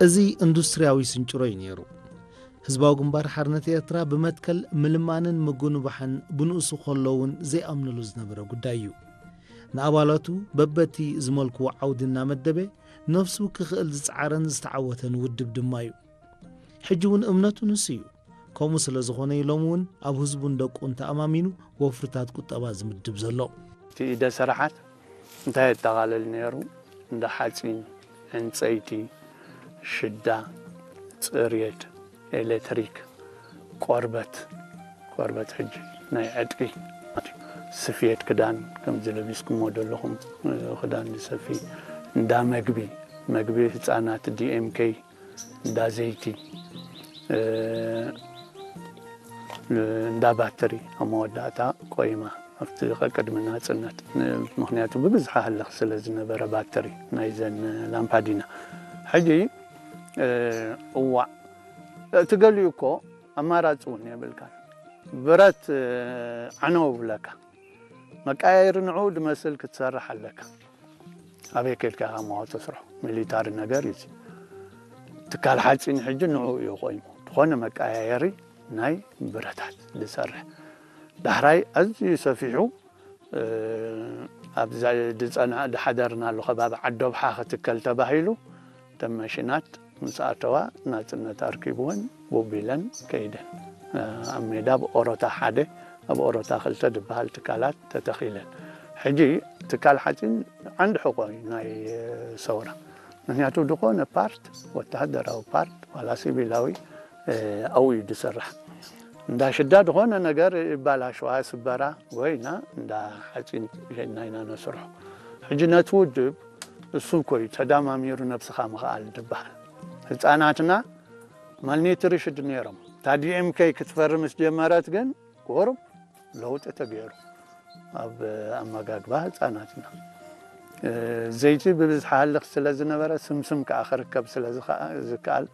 እዚ ኢንዱስትርያዊ ስንጭሮ እዩ ነይሩ። ህዝባዊ ግንባር ሓርነት ኤርትራ ብመትከል ምልማንን ምጉንባሕን ብንኡሱ ከሎ እውን ዘይኣምነሉ ዝነበረ ጉዳይ እዩ። ንኣባላቱ በበቲ ዝመልክዎ ዓውዲ እናመደበ ነፍሱ ክኽእል ዝጸዓረን ዝተዓወተን ውድብ ድማ እዩ። ሕጂ እውን እምነቱ ንሱ እዩ። ከምኡ ስለ ዝኾነ እዩ ሎሚ እውን ኣብ ህዝቡን ደቁን ተኣማሚኑ ወፍርታት ቁጠባ ዝምድብ ዘሎ። እቲ ኢደ ስራሓት እንታይ የጠቓልል ነይሩ? እንዳ ሓፂን፣ ዕንፀይቲ፣ ሽዳ፣ ፅሬት፣ ኤሌክትሪክ፣ ቆርበት፣ ቆርበት ሕጂ ናይ ዕጥቂ፣ ስፌት ክዳን ከምዚ ለቢስኩሞ ዘለኹም ክዳን ዝሰፊ፣ እንዳ መግቢ፣ መግቢ ህፃናት፣ ዲኤምኬ፣ እንዳ ዘይቲ፣ እ፣ እንዳ ባትሪ ኣብ መወዳእታ ቆይማ ኣብቲ ቀቅድሚ ናጽነት። ን-፣ ምኽንያቱ ብብዝሒ ሃልኽ ስለ ዝነበረ ባትሪ ናይዘን ላምፓዲና። ሕጂ፣ እ፣ እዋዕ፣ እቲ ገሊኡ እኮ ኣማራጺ እውን የብልካን። ብረት፣ እ፣ ዓነው ብለካ። መቀያየሪ ንዕኡ ድመስል ክትሰርሕ ኣለካ። ኣበይ ከድካ ኢኻ መዋቶ ስርሑ? ሚሊታሪ ነገር እዩ እዚ። ትካል ሓፂን ሕጂ ንዕኡ እዩ ቆይሙ። ዝኾነ መቀያየሪ ናይ ብረታት ዝሰርሕ። ዳሕራይ ኣዝዩ ሰፊሑ፣ እ፣ ኣብዛ ድጸና-፣ ድሓደርናሉ ከባቢ ዓዶብሓ ክትከል ተባሂሉ፣ እተን መሽናት ምስ ኣተዋ ናጽነት ኣርኪብወን ቡብ ኢለን ከይደን። ኣብ ሜዳ ኣብ ኦሮታ ሓደ፣ ኣብ ኦሮታ ክልተ ዝበሃል ትካላት ተተኺለን። ሕጂ ትካል ሓጺን ዓንዲ ሕቖ እዩ ናይ ሰውራ። ምኽንያቱ ዝኾነ ፓርት፣ ወተሃደራዊ ፓርት ዋላ ሲቪላዊ፣ ኣብኡ እዩ ዝስራሕ። እንዳ ሽዳ ዝኾነ ነገር ይባላሸዋ፣ ስበራ፣ ወይና እንዳ ሓጺን ሸይድና ኢና ነስርሖ። ሕጂ ነቲ ውድብ እሱ እኮ እዩ ተዳማሚሩ ነብስኻ ምኽኣል ዝበሃል። ህፃናትና ማልኒትሪሽድ ነይሮም። እታ ዲኤምኬ ክትፈርም ምስ ጀመረት ግን ቁሩብ ለውጢ ተገይሩ ኣብ ኣመጋግባ ህፃናትና። እ፣ ዘይቲ ብብዝሒ ሃልኽ ስለ ዝነበረ ስምስም ከዓ ክርከብ ስለ ዝኸ-፣ ዝከኣል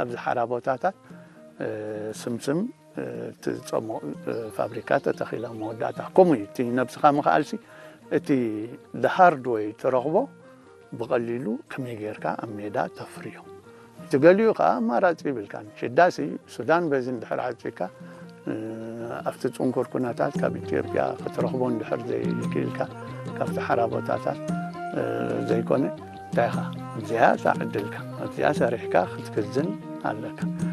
ኣብዚ ሓራ ቦታታት፣ እ፣ ስምስም፣ እ፣ ትጸሞ-፣ እ፣ ፋብሪካ ተተኺላ መወዳእታ። ከምኡ እዩ። እቲ ነብስኻ ምኽኣልሲ እቲ ሃርድወይ ትረኽቦ ብቐሊሉ ከመይ ጌርካ ኣብ ሜዳ ተፍርዮ። እቲ ገሊኡ ከኣ ኣማራጺ ይብልካን። ሽዳሲ ሱዳን በዚ እንድሕር ዓጺካ፣ እ፣ ኣብቲ ጽንኩር ኩነታት ካብ ኢትዮጵያ ክትረኽቦ እንድሕር ዘይክኢልካ፣ ካብቲ ሓራ ቦታታት፣ እ፣ ዘይኮነ፣ እንታይ ኢኻ፣ እዚኣ እታ ዕድልካ፣ ኣብዚኣ ሰሪሕካ ክትክዝን ኣለካ።